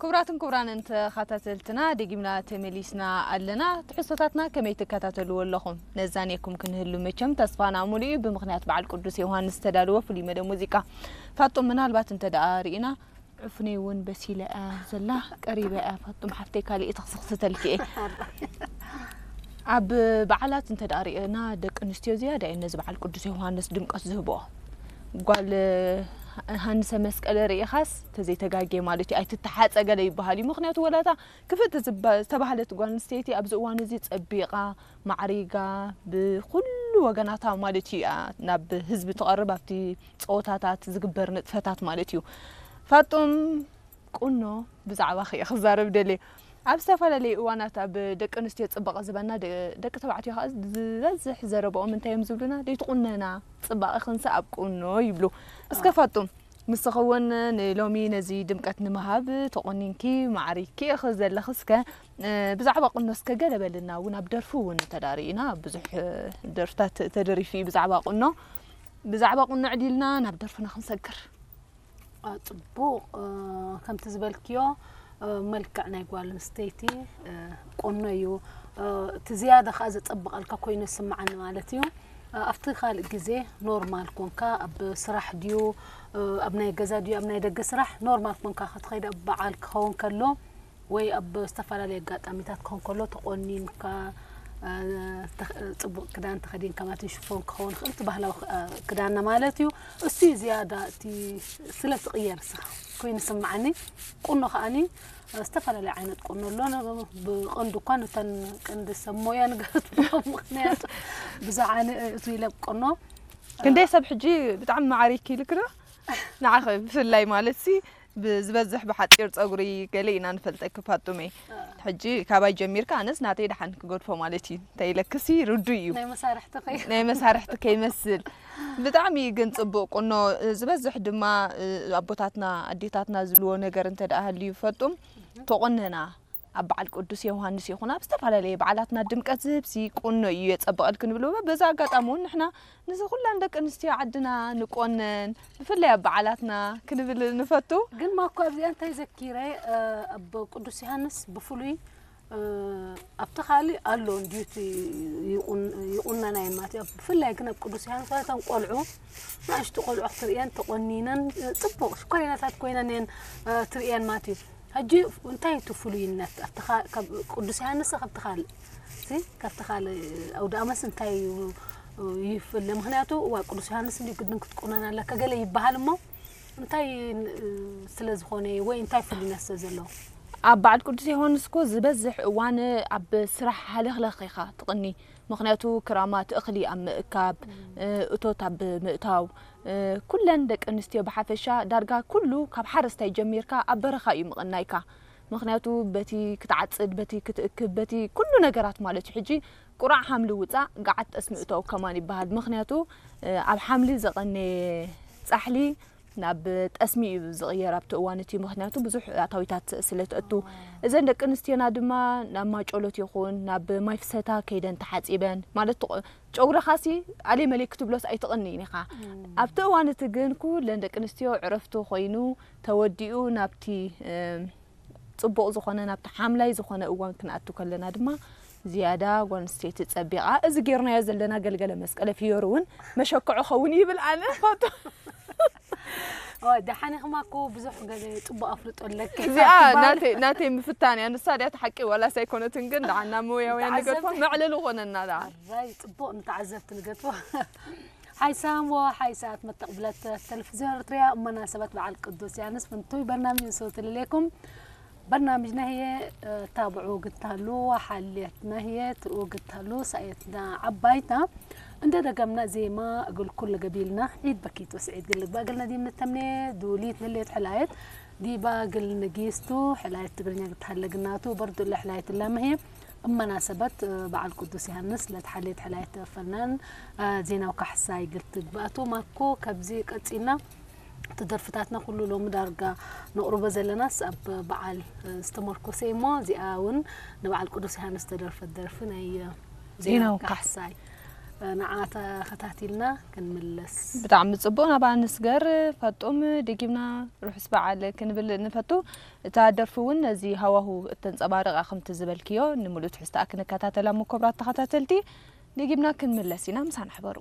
ክቡራትን ክቡራንን ተኸታተልትና፣ ደጊምና ተመሊስና ኣለና። ትሕዝቶታትና ከመይ ትከታተልዎ ኣለኹም? ነዛንየኩም ክንህሉ መቸም ተስፋና ሙሉእ እዩ። ብምኽንያት በዓል ቅዱስ ዮሃንስ ዝተዳለወ ፍሉይ መደብ ሙዚቃ። ፋጡም፣ ምናልባት እንተ ደኣ ርኢና፣ ዕፉነይ እውን በሲለ እያ ዘላ፣ ቀሪበ እያ። ፋጡም ሓፍተይ፣ ካልእ ተኽስኽስተልኪ እየ። ኣብ በዓላት እንተ ደኣ ርኢና፣ ደቂ ኣንስትዮ ዝያዳ እየን ነዚ በዓል ቅዱስ ዮሃንስ ድምቀት ዝህብኦ። ጓል ሃንሰ መስቀል ርኢኻስ፣ ተዘይተጋጌ ማለት እዩ፣ ኣይትተሓጸ ገለ ይበሃል እዩ። ምኽንያቱ፣ ወላታ ክፍእቲ ዝባ-፣ ዝተባህለት ጓል ኣንስተይቲ ኣብዚ እዋን እዚ ጸቢቓ፣ ማዕሪጋ፣ ብኹሉ ወገናታ ማለት እዩ፣ እያ ናብ ህዝቢ ትቐርብ፣ ኣብቲ ጸወታታት ዝግበር ንጥፈታት ማለት እዩ። ፋጡም፣ ቁኖ ብዛዕባኺ እየ ክዛረብ ደልየ። ኣብ ዝተፈላለዩ እዋናት ኣብ ደቂ ኣንስትዮ ጽባቐ ዝበና ደ-፣ ደቂ ተባዕትዮ ከኣ ዝበዝሕ ዘረባኦም እንታይ እዮም ዝብሉና? "ደይትቑነና፣ ጽባቐኽንሲ ኣብ ቁኖ" ይብሉ። እስከ ፋጡም፣ ንስኺ እውን ንሎሚ ነዚ ድምቀት ንምሃብ ተቖኒንኪ፣ ማዕሪግኪ ኢኺ ዘለኺ። እስከ፣ እ፣ ብዛዕባ ቁኖ እስከ ገለ በልና። እውን ኣብ ደርፊ እውን እንተ ደኣ ርኢና ብዙሕ፣ እ፣ ደርፍታት ተደሪፉ እዩ ብዛዕባ ቁኖ። ብዛዕባ ቁኖ ዕዲልና ናብ ደርፍና ክንሰግር። አ፣ ጽቡቕ፣ እ፣ ከምቲ ዝበልክዮ፣ እ፣ መልክዕ ናይ ጓል ኣንስተይቲ፣ እ፣ ቁኖ እዩ። እ፣ እቲ ዝያዳ ከኣ ዘጸብቐልካ ኮይኑ ይስምዓኒ ማለት እዩ። እ፣ ኣብቲ ካልእ ግዜ ኖርማል ኮንካ፣ ኣብ ስራሕ ድዩ፣ እ፣ ኣብ ናይ ገዛ ድዩ፣ ኣብ ናይ ደገ ስራሕ ኖርማል ኮንካ ክትኸይድ፣ ኣብ በዓል ክኸውን ከሎ ወይ ኣብ ዝተፈላለየ ኣጋጣሚታት ክኸውን ከሎ ተቖኒንካ፣ እ፣ ተኽ-፣ ጽቡቕ ክዳን ተኸዲንካ ማለት እዩ። ሽፎን ክኸውን ይኽእል፣ እቲ ባህላዊ ክ-፣ እ፣ ክዳንና ማለት እዩ። እሱ እዩ ዝያዳ እቲ ስለ ትቕየር ንስኻ ኮይኑ ይስምዓኒ። ቁኖ ከኣኒ፣ እ፣ ዝተፈላለየ ዓይነት ቁኖ ኣሎ። ነ-፣ ብቐንዱ እኳ ነተን ቀንዲ ሰብ ሞያ ንገብሮ፣ ምኽንያቱ ብዙሓን፣ እ፣ እቱ ኢለ ቁኖ። ክንደይ ሰብ ሕጂ ብጣዕሚ ማዕሪግኪ ኢልኪ ዶ? ንዓኺ ብፍላይ ማለት ሲ፣ ብዝበዝሕ ብሓጺር ጸጉሪ ገለ ኢና ንፈልጠኪ ፋጡመይ። ሕጂ ካባይ ጀሚርካ ኣነስ ናተይ ደሓን ክገድፎ ማለት እዩ። እንታይ ኢለክሲ ርዱእ እዩ። ናይ መሳርሕቲ ከይ- ናይ መሳርሕቲ ከይመስል። ብጣዕሚ ግን ጽቡቕ ቁኖ፣ ዝበዝሕ ድማ፣ እ፣ ኣቦታትና ኣዴታትና ዝብልዎ ነገር እንተ ደኣ ሃልዩ ፋጡም፣ ተቆነና ኣብ በዓል ቅዱስ ዮሃንስ ይኹን ኣብ ዝተፈላለየ በዓላትና ድምቀት ዝህብሲ ቁኖ እዩ የጸብቐልኪ ንብል። በዛ ኣጋጣሚ እውን ንሕና ንዚ ኩላን ደቂ ኣንስትዮ ዓድና ንቆነን፣ ብፍላይ ኣብ በዓላትና ክንብል ንፈቱ። ግን ማኮ ኣብዚኣ እንታይ ዘኪረ፣ እ፣ ኣብ ቅዱስ ዮሃንስ ብፍሉይ፣ እ፣ ኣብቲ ካልእ ኣሎ እንድዩ እቲ ይቑን-፣ ይቑነና እየን ማለት እዩ። ብፍላይ ግን ኣብ ቅዱስ ዮሃንስ እተን ቆልዑ፣ ንኣሽቱ ቆልዑ ክትርእየን ተቆኒነን፣ እ፣ ጽቡቕ ሽኮሪናታት ኮይነን እየን፣ እ፣ ትርእየን ማለት እዩ። ሕጂ እንታይ እቲ ፍሉይነት ኣብቲ ካ-፣ ካብ ቅዱስ ዮሃንስ ካብቲ ካልእ፣ እዚ ካብቲ ካልእ ኣውደ ኣመስ እንታይ እዩ ይፍለ? ምኽንያቱ እዋ ቅዱስ ዮሃንስ እንዲ ግድን ክትቁነን ኣለካ ገለ ይበሃል እሞ እንታይ ን-፣ ስለ ዝኾነ ወይ እንታይ ፍሉይነት ስለ ዘለዎ? ኣብ በዓል ቅዱስ ዮሃንስ እኮ ዝበዝሕ እዋን ኣብ ስራሕ ሃለኽለኽ ኢኻ ትቕኒ። ምኽንያቱ ክራማት እኽሊ ኣብ ምእካብ፣ እ፣ እቶት ኣብ ምእታው፣ እ፣ ኩለን ደቂ ኣንስትዮ ብሓፈሻ ዳርጋ ኩሉ ካብ ሓረስታይ ጀሚርካ ኣብ በረኻ እዩ ምቕናይካ። ምኽንያቱ በቲ ክትዓጽድ፣ በቲ ክትእክብ፣ በቲ ኩሉ ነገራት ማለት እዩ። ሕጂ ቁራዕ ሓምሊ ውጻእ፣ ገዓት ጠስሚ እተው ከማን ይበሃል። ምኽንያቱ፣ እ፣ ኣብ ሓምሊ ዘቐነየ ጻሕሊ ናብ ጠስሚ እዩ ዝቕየር ኣብቲ እዋን እቲ። ምኽንያቱ ብዙሕ ኣታዊታት ስለ ትእቱ። እዘን ደቂ ኣንስትዮና ድማ ናብ ማጮሎት ይኹን ናብ ማይ ፍሰታ ከይደን ተሓጺበን፣ ማለት ትቕ-፣ ጨጉርኻሲ ኣሌ መሌ ክትብሎስ ኣይትቕንይን ኢኻ። ኣብቲ እዋን እቲ ግን ኩለን ደቂ ኣንስትዮ ዕረፍቲ ኮይኑ ተወዲኡ ናብቲ፣ እ፣ ጽቡቕ ዝኾነ ናብቲ ሓምላይ ዝኾነ እዋን ክንኣቱ ከለና ድማ ዝያዳ ጓል ኣንስተይቲ ጸቢቓ፣ እዚ ጌርናዮ ዘለና ገልገለ መስቀለ ፍዮሪ እውን መሸክዖ ኸውን ይብል ኣነ። ፋጡ። ኦ፣ ደሓን ኢኽማ እኮ ብዙሕ ገለ ጽቡቕ ኣፍልጦ ኣለኪ። እዚኣ ናተይ፣ ናተይ ምፍታን እያ። ንሳ ድያ እቲ ሓቂ ዋላስ ኣይኮነትን፣ ግን ደሓን ናብ ሞያውያን ንገድፎ፣ ንተዓዘብቲ። መዕለሊ ኾነና ደኣ። ኣራይ፣ ጽቡቕ ንተዓዘብቲ ንገድፎ። ሓይሳም ወሓይሳት መተቕብለት ተለቪዝዮን ኤርትርያ፣ እመና ሰባት በዓል ቅዱስ ዮሃንስ ፍንቱይ በርናምጅ ንሰውት ልሌኩም። በርናምጅ ነህየ፣ እ፣ ታብዑ ግታሉ፣ ሓልየት ነህየ ትኡ ግታሉ፣ ሳየትና ዓባይታ። እንደ ደገምና ዜማ እግል ኩል ገቢልና፣ ዒድ በኪት ወስዒድ ግል ልግባ እግል ነዲም ንተምኔ፣ ዱሊት ንሌት ሕላየት፣ ዲባ ግል ንጊስቱ፣ ሕላየት ትግርኛ ግትሃለ ግናቱ፣ በርዱ እለ ሕላየት እላ መህየ። እመናሰበት፣ እ፣ በዓል ቅዱስ ዮሃንስ ለትሓሌት ሕላየት ፈናን፣ እ፣ ዜናው ካሕሳይ ግል ትግባእቱ። ማኮ ከብዚ ቀጺልና፣ እቲ ደርፍታትና ኩሉ ሎሚ ዳርጋ ነቕርቦ ዘለናስ ኣብ በዓል፣ እ፣ ዝተመርኮሰ እዩ እሞ፣ እዚኣ እውን ንበዓል ቅዱስ ዮሃንስ ዝተደርፈት ደርፊ ናይ፣ እ፣ ዜናው ዜናው ካሕሳይ። ንዓ ተኸታቲልና ክንምለስ። ብጣዕሚ ጽቡቕ። ናብኣ ንስገር። ፈጡም፣ ደጊምና ርሑስ በዓል ክንብል ንፈቱ። እታ ደርፊ እውን ነዚ ሃዋሁ እተንጸባርቕ እያ። ከምቲ ዝበልክዮ፣ ንምሉእ ትሕዝትኣ ክንከታተላ እሞ፣ ክቡራት ተኸታተልቲ፣ ደጊምና ክንምለስ ኢና። ምሳና ሕበሩ።